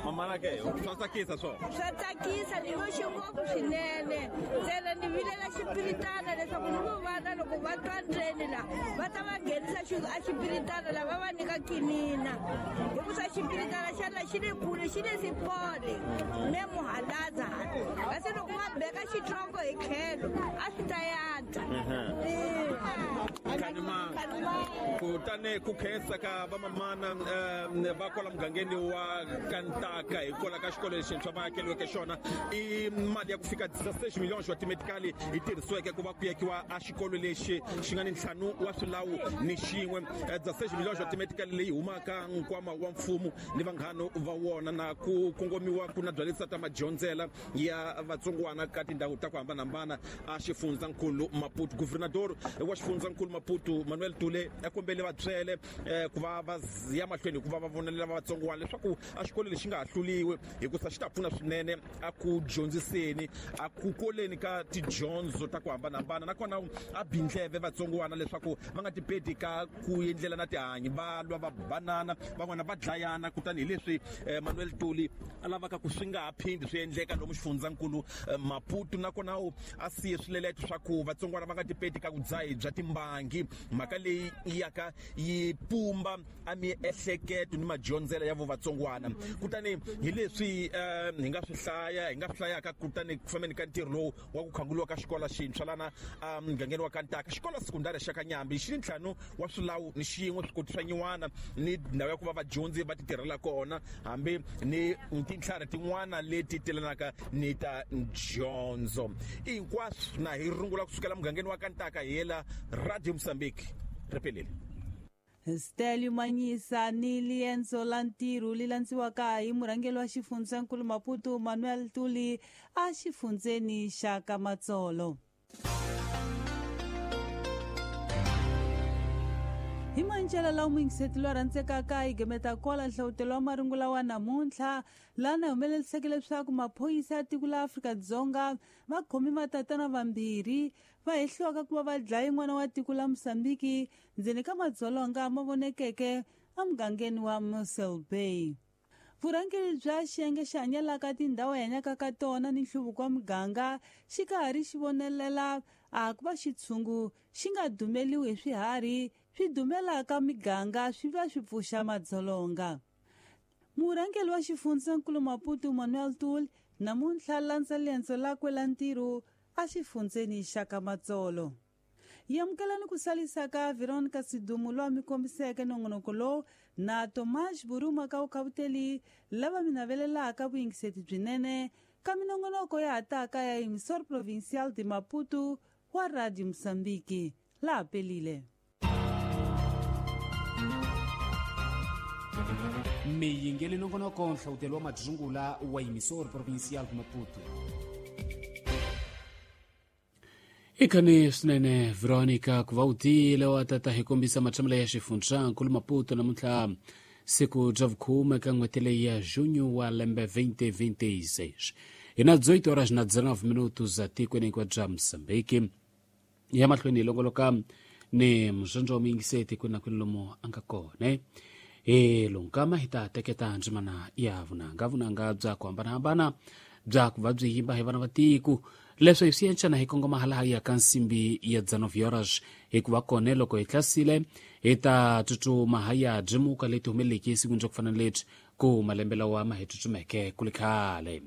Mamana ke swa tsakisa swona. Swa tsakisa ni voxe ngopfu swinene. Ntsena ni vilela xipiritana leswaku ni vo vana loko va twa ndzeni la va ta va nghenisa a xipiritana la va va nyika kinina. Hikusa xipiritana xa la xi le kule xi le sipole ne muhalaza hala. Kasi loko va beka xitsongo hi tlhelo a swi ta yantswa. Khanimanga. Kutani ku khensa ka vamamana va kwala mugangeni wa Kantaka hikwalaho ka xikolo lexintshwa va akeliweke xona i mali ya ku fika 16 milhões wa timetikali yi tirhisiweke ku va ku yakiwa a xikolo lexi xi nga ni ntlhanu wa swilawu ni xin'we. 16 milhões wa timetikali leyi humaka nkwama wa mfumo ni vanghano va wona na ku kongomiwa ku na byalisa ta madyondzela ya vatsongwana ka tindhawu ta ku hambanahambana a xifundzankulu Maputo. Governador wa xifundzankulu Maputo Manuel Tule a kombele vatswele ku va va ya mahlweni hikuva va vonelela vatsongwana leswaku a xikolo lexi nga ha hluliwi hikusa xi ta pfuna swinene a ku dyondziseni a ku koleni ka tidyondzo ta ku hambanahambana, nakona a bindleve vatsongwana leswaku va nga tipeti ka ku endlela na tihanyi, va lwa va banana, van'wana va dlayana. Kutani hi leswi Manuel Tuli a lavaka ku swi nga ha phindi swi endleka lomu xifundzankulu Maputo, nakona a siye swileleto swa ku vatsongwana va nga tipeti ka vudzahi bya timbangi, mhaka leyi yaka yi pumba a miehleketo ni madyondzela ya vo vatsongwana. Kutani hi leswi hi nga swi hlaya hi nga swi hlayaka kutani ku fambeni ka ntirho lowu wa ku khanguliwa ka xikolo xintshwa lana mugangeni wa Kantaka, xikolo sekundari xa Kanyambi xi ni ntlhanu wa swilawu ni xin'we, swikoti swa nyiwana ni ndhawu ya ku va vadyondzi va ti tirhela kona, hambi ni tintlhari tin'wana leti telanaka ni ta dyondzo. Hinkwaswo na hi rungula kusukela mugangeni wa Kantaka hi yela Radio Mozambique. Ripelele. Stelio Manyisa ni liendzo la ntirho li landziwaka hi murhangeri wa xifundzankulu Maputo Manuel Tuli a xifundzeni xa Kamatsolo. Hi mancela lawa muyingiseti loyi a rhandzekaka hi gemeta kwala nhlawutelo wa marungula wa namuntlha, lana humeleliseke leswaku maphorisa ya tiko la Afrika-Dzonga va khomi matatana vambirhi va hehliwaka ku va va dlaye n'wana wa tiko la Mozambique ndzeni ka madzolonga ma vonekeke emugangeni wa Mossel Bay. Vurhangeri bya xiyenge xi hanyelaka tindhawu hi hanyaka ka tona ni nhluvuko wa muganga xi ka ha ri xi vonelela a ku va xitshungu xi nga dumeliwi hi swiharhi swi dumelaka miganga swi va swi pfuxa madzolonga. Murhangeri wa xifundzankulu Maputo Manuel Tuli namuntlha landza liendzo lakwe la ntirho a xifundzeni xa Kamatsolo. Hi amukela ni ku salisa ka Veronica Sidumu loyi a mi kombiseke nongonoko lowu na Tomas Buruma ka vukhavuteli lava mi navelelaka vuyingiseti byinene ka minongonoko ya ha taka ya Emissor Provincial de Maputo wa Radio Mozambique. Laha pelile. Miyingeli nongonoko nhlawutelo wa madzungula wa Emissor Provincial de Maputo. Ikhani swinene Veronica ku va u tiyile wa tata hi kombisa matshamelo ya xifundzankulu Maputo namuntlha siku bya vukhume ka n'hweti leyi ya junho wa lembe 2026 hi na 18 horas na 19 minutos za tikweni hinkwa bya Mozambique. Ya mahlweni hi longoloka ni muzondzo wa muyingiseti kwini na kwini lomu a nga kona. Hi lonkama hi ta teketa ndzimana ya vunanga vunanga bya ku hambanahambana bya ku va byi yimba hi vana va tiko. Leswi hi swi encana hi kongoma halaha ya ka nsimbi ya 19 horas, hikuva kona loko hi tlasile hi ta tsutsuma ha ya byimuka leti humeleleke esikwini bya ku fana na lebyi ku malembe lawa ma hi tsutsumeke ku le khale.